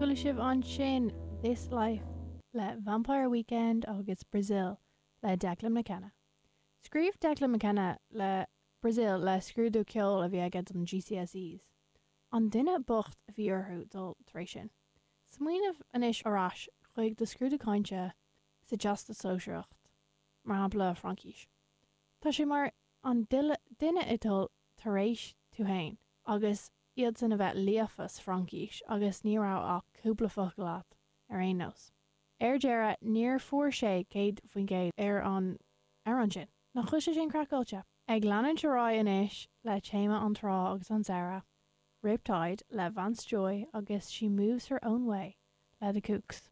Chuala sibh ansin This Life le Vampire Weekend agus Brazil le Declan McKenna. Scríobh Declan McKenna le Brazil le scrúdú ceoil a bhí aige don GCSEs. An duine bocht a bhí orthu dul tar éis sin. Smaoineamh anois ar ais chuig do scrúdú cainte sa Teastas Sóisearach, mar shampla Fraincis. Tá sé mar an duine ag dul tar éis tú fhéin agus iadsan a bheith líofa sa Fhraincis agus ní raibh ach cúpla focal agat ar aon nós. Ar deireadh níor fuair sé 100% ar an amhrán sin. Nach bhfuil sé sin craiceáilte? Ag leanúint ar aghaidh anois le téama an trá agus an samhradh, Riptide le Vance Joy agus She Moves Her Own Way le The Kooks.